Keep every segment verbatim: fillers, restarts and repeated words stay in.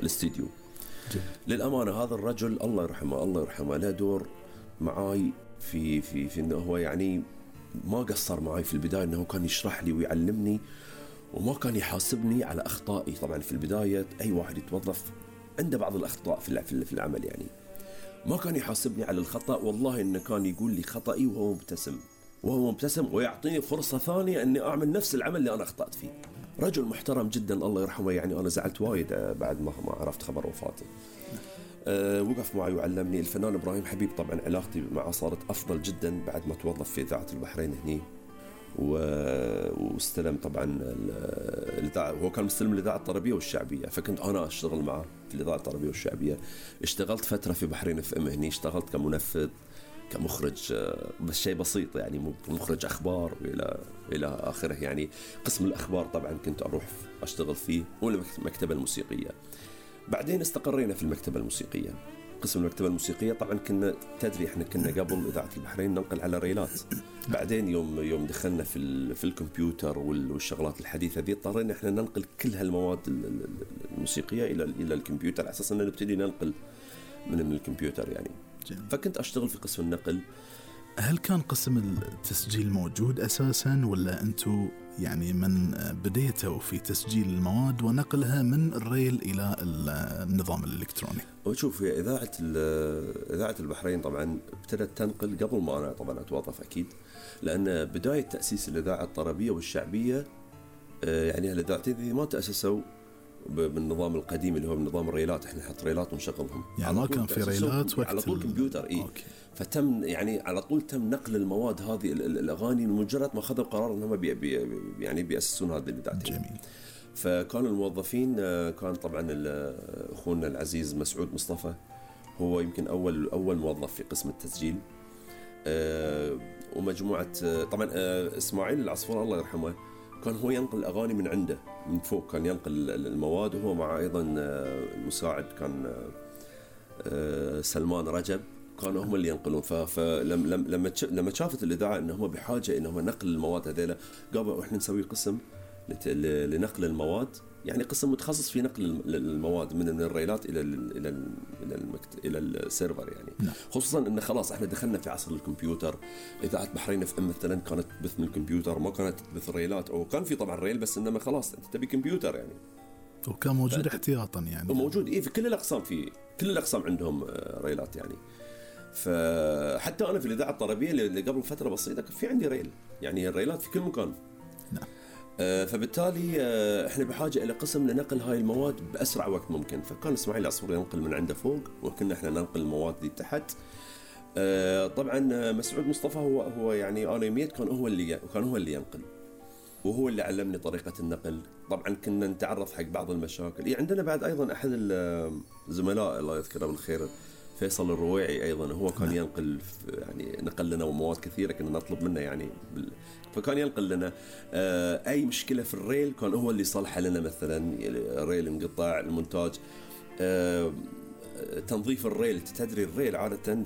الاستديو. للأمانة هذا الرجل الله يرحمه الله يرحمه له دور معاي في في في إنه هو يعني ما قصر معاي في البداية، إنه كان يشرح لي ويعلمني وما كان يحاسبني على أخطائي. طبعا في البداية أي واحد يتوظف عنده بعض الأخطاء في في العمل، يعني ما كان يحاسبني على الخطأ، والله إنه كان يقول لي خطأي وهو مبتسم وهو مبتسم ويعطيني فرصة ثانية إني أعمل نفس العمل اللي أنا أخطأت فيه. رجل محترم جدا الله يرحمه، يعني أنا زعلت وايد بعد ما ما عرفت خبر وفاته. أه وقف معي وعلمني. الفنان إبراهيم حبيب طبعا علاقتي معه صارت أفضل جدا بعد ما توظف في إذاعة البحرين هني، واستلم طبعا الإذاعة، هو كان مستلم الإذاعة الطربية والشعبية، فكنت أنا أشتغل معه في الإذاعة الطربية والشعبية. اشتغلت فترة في بحرين اف ام هني، اشتغلت كمنفذ كمخرج، بس شيء بسيط يعني مخرج أخبار وإلى إلى آخره، يعني قسم الأخبار طبعا كنت أروح أشتغل فيه، والمكتبة الموسيقية. بعدين استقرينا في المكتبة الموسيقية، قسم المكتبة الموسيقية. طبعا كنا تدري احنا كنا قبل إذاعة البحرين ننقل على ريلات، بعدين يوم يوم دخلنا في في الكمبيوتر والشغلات الحديثة ذي اضطرينا احنا ننقل كل هالمواد الموسيقية إلى إلى الكمبيوتر على أساس أن نبتدي ننقل من من الكمبيوتر يعني. جميل. فكنت أشتغل في قسم النقل. هل كان قسم التسجيل موجود أساساً، ولا أنتوا يعني من بديتوا في تسجيل المواد ونقلها من الريل إلى النظام الإلكتروني؟ وشوف يا إذاعة إذاعة البحرين طبعاً ابتدت تنقل قبل ما أنا طبعاً أتوظف أكيد، لأن بداية تأسيس الإذاعة الطربية والشعبية يعني الإذاعتين ذي ما تأسسوا بالنظام القديم اللي هو بنظام الريلات، احنا نحط ريلات ونشغلهم، يعني ما كان في ريلات وقت على طول كمبيوتر. اي فتم يعني على طول تم نقل المواد هذه الاغاني مجرد ما اخذوا قرار انهم بي بي يعني بيأسسون هذه الاذاعتين. جميل. فكان الموظفين كان طبعا اخونا العزيز مسعود مصطفى، هو يمكن اول اول موظف في قسم التسجيل، ومجموعه طبعا اسماعيل العصفور الله يرحمه كان هو ينقل الأغاني من عنده من فوق، كان ينقل المواد، وهو مع أيضا المساعد كان سلمان رجب، كانوا هم اللي ينقلون. فلما لما لما شافت الإذاعة إنهم بحاجة إنهم نقل المواد هذيلا، قالوا إحنا نسوي قسم لنقل المواد، يعني قسم متخصص في نقل المواد من الريلات إلى ال إلى ال إلى المكت... إلى السيرفر يعني. نعم. خصوصا إن خلاص إحنا دخلنا في عصر الكمبيوتر. إذاعة بحرين اف ام مثلا كانت تبث من الكمبيوتر، ما كانت تبث ريلات، أو كان في طبعا ريل بس إنما خلاص أنت تبي كمبيوتر يعني. وكان موجود احتياطا يعني. وموجود إيه في كل الأقسام، في كل الأقسام عندهم ريلات يعني. فحتى أنا في الإذاعة الطربية اللي قبل فترة بسيطة في عندي ريل، يعني الريلات في كل مكان. نعم. فبالتالي احنا بحاجة إلى قسم لنقل هاي المواد بأسرع وقت ممكن. فكان اسماعيل العصفور ينقل من عنده فوق، وكنا احنا ننقل المواد دي تحت. طبعا مسعود مصطفى هو هو يعني أنا يميت كان هو اللي كان هو اللي ينقل، وهو اللي علمني طريقة النقل. طبعا كنا نتعرف حق بعض المشاكل. يعني عندنا بعد أيضا أحد الزملاء الله يذكره بالخير فيصل الرويعي أيضا، هو كان ينقل يعني نقل لنا مواد كثيرة كنا نطلب منه يعني بال... فكان ينقل لنا آه أي مشكلة في الريل كان هو اللي يصلحها لنا، مثلا الريل انقطاع، المونتاج، آه تنظيف الريل. تدري الريل عادة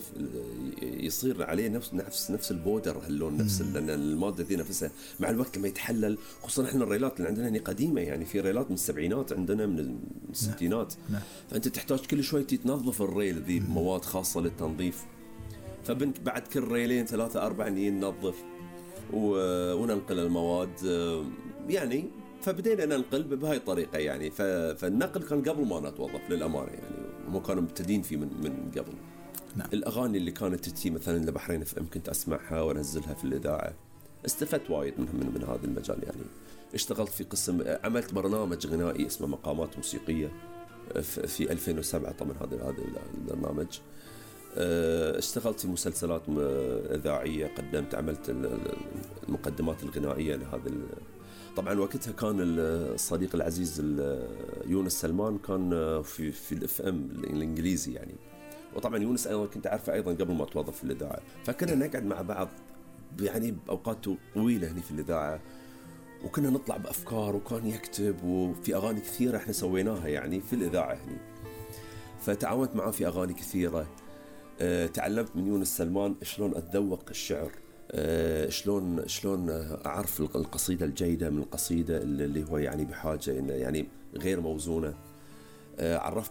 يصير عليه نفس نفس نفس البودر هاللون، نفس المادة ذي نفسها مع الوقت لما يتحلل. خصوصا احنا الريلات اللي عندنا هنا قديمة، يعني في ريلات من السبعينات عندنا من الستينات. نعم. فأنت تحتاج كل شوي تنظف الريل ذي بمواد خاصة للتنظيف. فبنت بعد كل ريلين ثلاثة أربعة ننظف وننقل المواد يعني. فبدينا ننقل بهاي الطريقة يعني. فالنقل كان قبل ما نتوظف للأمانة يعني، وما كانوا مبتدين فيه من من قبل. نعم. الأغاني اللي كانت تتي مثلا لبحرين اف ام كنت أسمعها وأنزلها في الإذاعة، استفدت وايد من من, من هذا المجال يعني. اشتغلت في قسم، عملت برنامج غنائي اسمه مقامات موسيقية في ألفين وسبعة. طبعا هذا هذا البرنامج. اشتغلت في مسلسلات إذاعية، قدمت عملت المقدمات الغنائية لهذا. طبعا وقتها كان الصديق العزيز يونس سلمان كان في في الاف ام الانجليزي يعني. وطبعا يونس ايضا كنت اعرفه ايضا قبل ما اتوظف في الاذاعه، فكنا نقعد مع بعض يعني باوقات طويله هنا في الاذاعه، وكنا نطلع بافكار، وكان يكتب، وفي اغاني كثيره احنا سويناها يعني في الاذاعه هنا. فتعاونت معه في اغاني كثيره. أه تعلمت من يونس سلمان شلون اتذوق الشعر، أه شلون شلون اعرف القصيده الجيده من القصيده اللي هو يعني بحاجه انه يعني غير موزونه. أه عرفت